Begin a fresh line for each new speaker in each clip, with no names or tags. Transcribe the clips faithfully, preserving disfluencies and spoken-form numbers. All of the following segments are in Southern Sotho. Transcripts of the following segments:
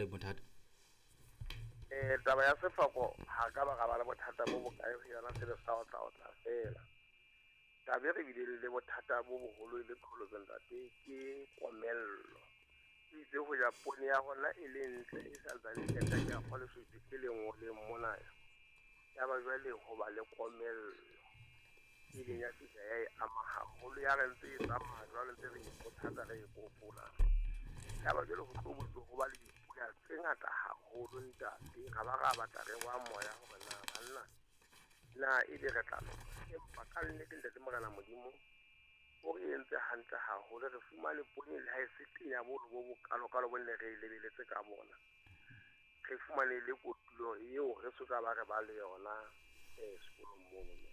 le bothata?
Eh taba ya sefako ha ka ba ba le bothata bo bokae ho yona, se le sa otla otla fela. Taba e re bile le bothata bo boholo e le qholotso ntate ke komello. Itse ho ja poone ya rona e le ntle e sa ntsane e ka ya kgole se le nngwe le mona. Ya ba jwale ho ba le komello. E leng ya fihla ya e ama haholo, ya re ntse e tsamaya jwale ntse re ikgothatsa re e kopola. Ya ba jwale ho tlo ho ba le dipula tse ngata haholo ntate, ra ba ra batla re wa moya hore na banna na ebe re tla loka. Empa ka nnete ntate Morena Modimo o re entse hantle haholo, re fumane poone le ha e se tenya bolo bo bokalokalo bo ne re e lebeletse ka bona. Re fumane le kotulo eo re soka ba re ba le yona eh sekolong mono ntate.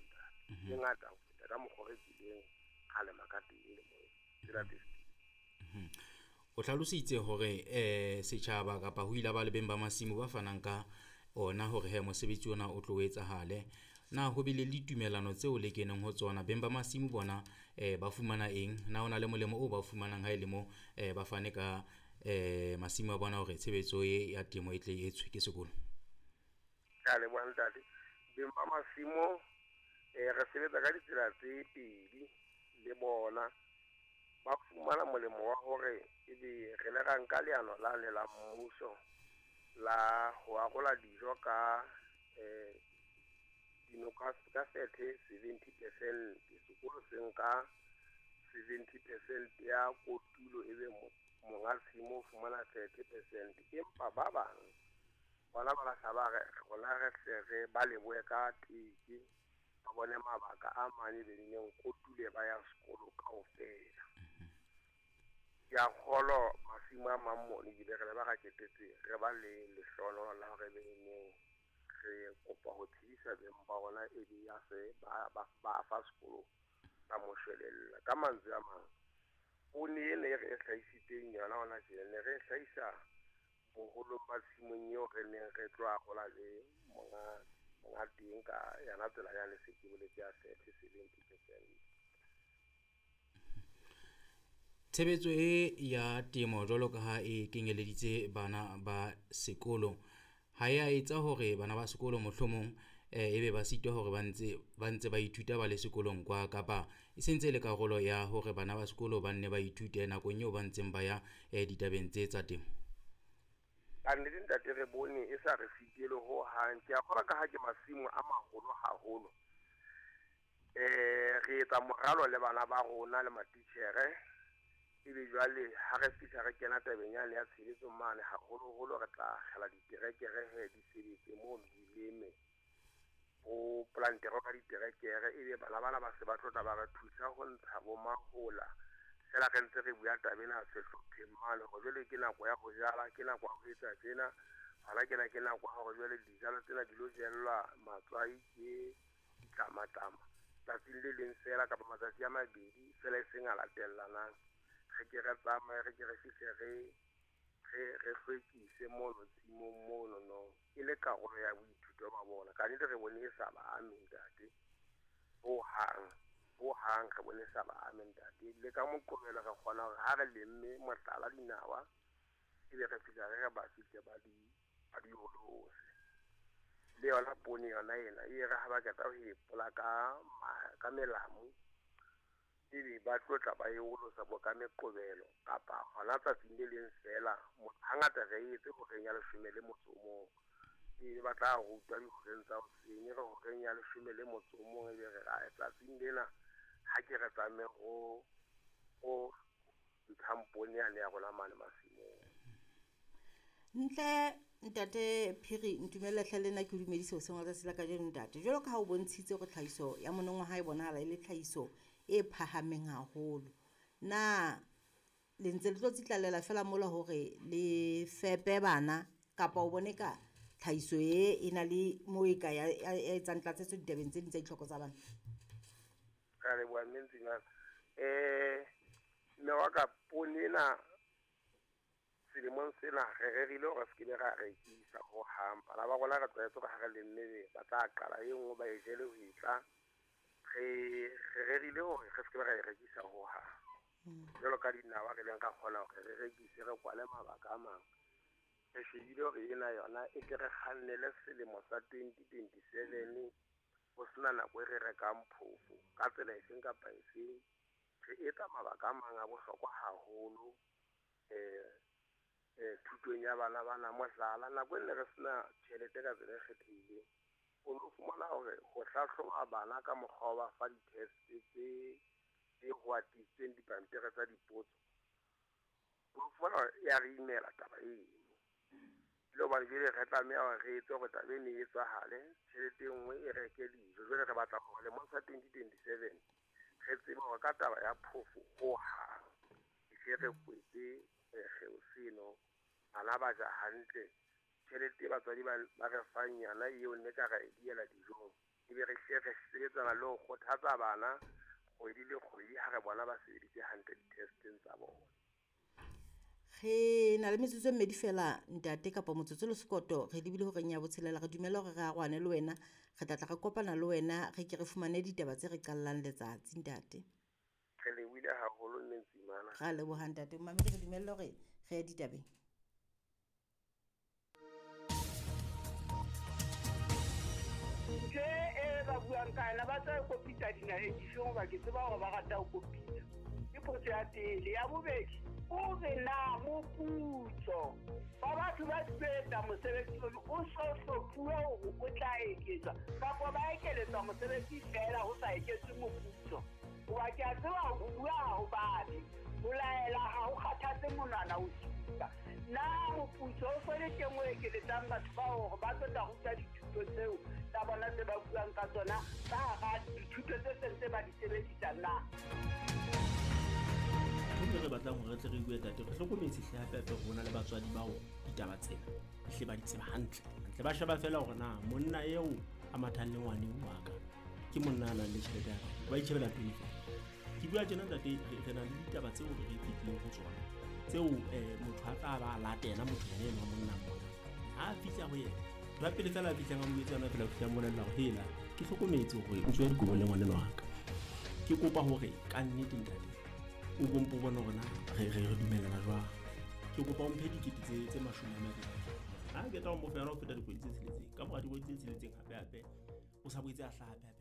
E ngata ho feta ka mokgwa re kileng ra lema ka teng le moo tsela tse.
O hlalositse hore eh setjhaba kapa ho ile ba le beng ba masimo ba fanang ka ona hore he mosebetsi ona o tlo etsahale. Na ho bile le ditumelano tseo le keneng ho tsona, beng ba masimo bona eh ba fumana eng? Na hona le molemo o ba fumanang ha e le mo eh ba fane ka eh masimo a bona hore tshebetso e ya temo e tle e etswe ke sekolo?
Ka leboha ntate. Beng ba masimo eh re sebetsa ka ditsela tse pedi le bona. Ba fumana molemo wa hore ebe re le ra nka leano la le la mmuso la ho arola dijo ka eh dinoka ka thirty seventy percent. Sekolo se nka seventy percent ya kotulo ebe monga tshimo o fumana thirty percent. Empa ba bang bona ba lahla ba re rona re hle re ba lebohe ka teke, ba bone mabaka a mane be neng kotule ba ya sekolo kaofela. Ke a kgolwa masimo a mang mono ebile re le ba ra ketetse re ba le lehlohonolo la hore be neng re kopa ho tsebisa beng ba rona e be ya se ba ba ba fa sekolo ka moshwelella. Ka mantswe a mang, poone ena e re e hlahisitseng yona hona tjena ne re e hlahisa boholong ba tshimong eo re neng re tlo arola le monga monga teng ka yona tsela yane se ke boletse ya thirty seventy percent.
Tshebetso e ya temo jwalo ka ha e kenyeleditse bana ba sekolo, ha ya etsa hore bana ba sekolo mohlomong eh ebe ba sitwa hore ba ntse ba ntse ba ithuta ba le sekolong kwa, kapa e sentse e le karolo ya hore bana ba sekolo ba nne ba ithute nakong eo ba ntseng ba ya eh ditabeng tse tsa temo?
Ka nnete ntate re bone e sa re sitele ho hang. Ke a kgolwa ka ha ke masimo a maholo haholo. Eh re etsa moralo le bana ba rona le matitjhere. Ebe jwale ha re fihla re kena tabeng yane ya tshebetso mane, haholoholo re tla akgela diterekere he di sebetse mono di leme bo plantere ka diterekere, ebe bana bana ba se ba tlo tla ba re thusa ho ntsha bo mahola. Fela re ntse re bua taba ena sehlopheng mane hore jwale ke nako ya ho jala, ke nako ya ho etsa tjena, hona kena ke nako ya hore jwale dijalo tsena di lo jellwa matswai ke ditlamatlama tsatsing le leng fela kapa matsatsi a mabedi fela e seng a latellanang. Re ke re tsamaye, re ke re fihle re re re hlwekise mono tshimong mono no e le karolo ya boithuto ba bona. Ka nnete re bone e sa ba ame ntate ho hang, ho hang re bone e sa ba ame ntate. Le ka Moqebelo re kgona hore ha re lemme mohlala dinawa ebe re fihla re re ba fihle ba di ba di olose. Le yona poone yona ena e re ha ba qeta ho e pola ka ka melamu, ebe ba tlo tla ba e olosa bo ka Meqebelo kapa hona tsatsing le leng fela. Hangata re etse horeng ya leshome le motso o mong, ebe ba tla rutwa dihoreng tsa hoseng, re horeng ya leshome le motso o mong ebe re re tsatsing lena ha ke re tlameha ho ho ntshang poone yane ya rona mane masimong.
Ntle ntate Phiri, ntumella hle le nna ke o dumedise hoseng wa letsatsi la kajeno ntate. Jwalo ka ha o bontshitse hore tlhahiso ya monongwaha e bonahala e le tlhahiso e phahameng haholo, na le ntse le tlo tsitlallela fela mola hore le fepe bana, kapa o bone ka tlhahiso e e na le mo e ka ya etsang tlatsetso ditabeng tse ding tsa ditlhoko tsa bana?
Ka leboha mme Ntsimane. Eh mme wa ka, poone ena selemong sena re rerile hore se ke be ra rekisa ho hang. Bana ba rona re tlwaetse hore ha re lemme ba tla qala e nngwe ba e jele ho e tla. Re re rerile hore re se ke be ra e rekisa ho hang. Jwalo ka dinawa re leng ra kgona hore re rekise re kwale mabaka a mang. Re shebile hore ena yona e tle re kgannele selemo sa twenty twenty-seven ho sena nako e re rekang phofo ka tsela efeng kapa efeng. Re etsa mabaka a mang a bohlokwa haholo eh eh thutong ya bana bana. Mohlala, nako e ne re sena tjhelete ka tsela e kgethehileng, o no fumana hore ho hlahloba bana ka mokgwa wa ba fa di-test tse tse ho atisitsweng dipampiri tsa dipotso, o fumana hore ya re imela taba eno. Le hobane jwale re tlameha hore re etse hore taba eno e etsahale, tjhelete e nngwe e reke dijo. Jwale re batla hore lemong sa twenty twenty-seven re tsebe hore ka taba ya phofo hohang e hle re kwetse kgeo seno, bana ba ja hantle, tjhelete e batswadi ba re fang yona eo nne ka ra e diela dijong, ebe re hle re sebetsana le ho kgothatsa bana kgwedi le kgwedi ha re bona ba sebeditse hantle di-testeng tsa bona.
Re na le metsotso e mmedi fela ntate kapa motsotso le sekoto, re lebile horeng ya botshelela. Re dumela hore re arohane le wena, re tla tla re kopana le wena, re ke re fumane ditaba tse re qallang letsatsi ntate.
Re lebohile haholo mme Ntsimana.
Ra leboha ntate. Mamedi, re dumelle hore re ye ditabeng.
Ntho e ba buang ka yona ba tla kopitsa dinaheng difeng hoba ke tseba hore ba rata ho kopitsa. Ke potso ya pele. Ya bobedi, o re na moputso ba batho ba sebetsa mosebetsi ono o so hlophuwe hore o tla eketswa kapa ba ekeletswa mosebetsi feela ho sa eketswe moputso. Hoba ke a tseba ho bua ha ho babe, ho laela ha ho kgathatse monwana o supa. Na moputso o so le teng o ekeletsang batho bao hore ba tlo tla ruta dithuto tseo tsa bona tse ba buang ka tsona ka hara dithuto tse seng tse ba di sebedisang na?
Ntho e re batlang hore re tle re bue tate, re hlokometse hle hape hape rona le batswadi bao ditaba tsena hle ba di tseba hantle. Hantle ba sheba feela hore na monna eo a mathang le ngwaneng wa ka ke monna a nang le tjhelete ya ka, ba itjhebela pele feela. Ke bua tjena ntate, re na le ditaba tseo re fetileng ho tsona tseo eh motho a tla ba latela motho yena enwa monna mona. Ha a fihla ho yena, ba pele feela a fihlang a mo etsa yona fela ho fihla mmolella hore hela ke hlokometse hore o tswe dikobong le ngwaneno wa ka. Ke kopa hore ka nnete ntate o bompo bona hore na re re re dumellana jwang. Ke kopa o mphe dikete tse tse mashome a mabedi. Ha ke tla o mo fa yona ho feta dikgwedi tse tsheletseng. Ka mora dikgwedi tse tsheletseng hape hape o sa boetse a hlaha hape hape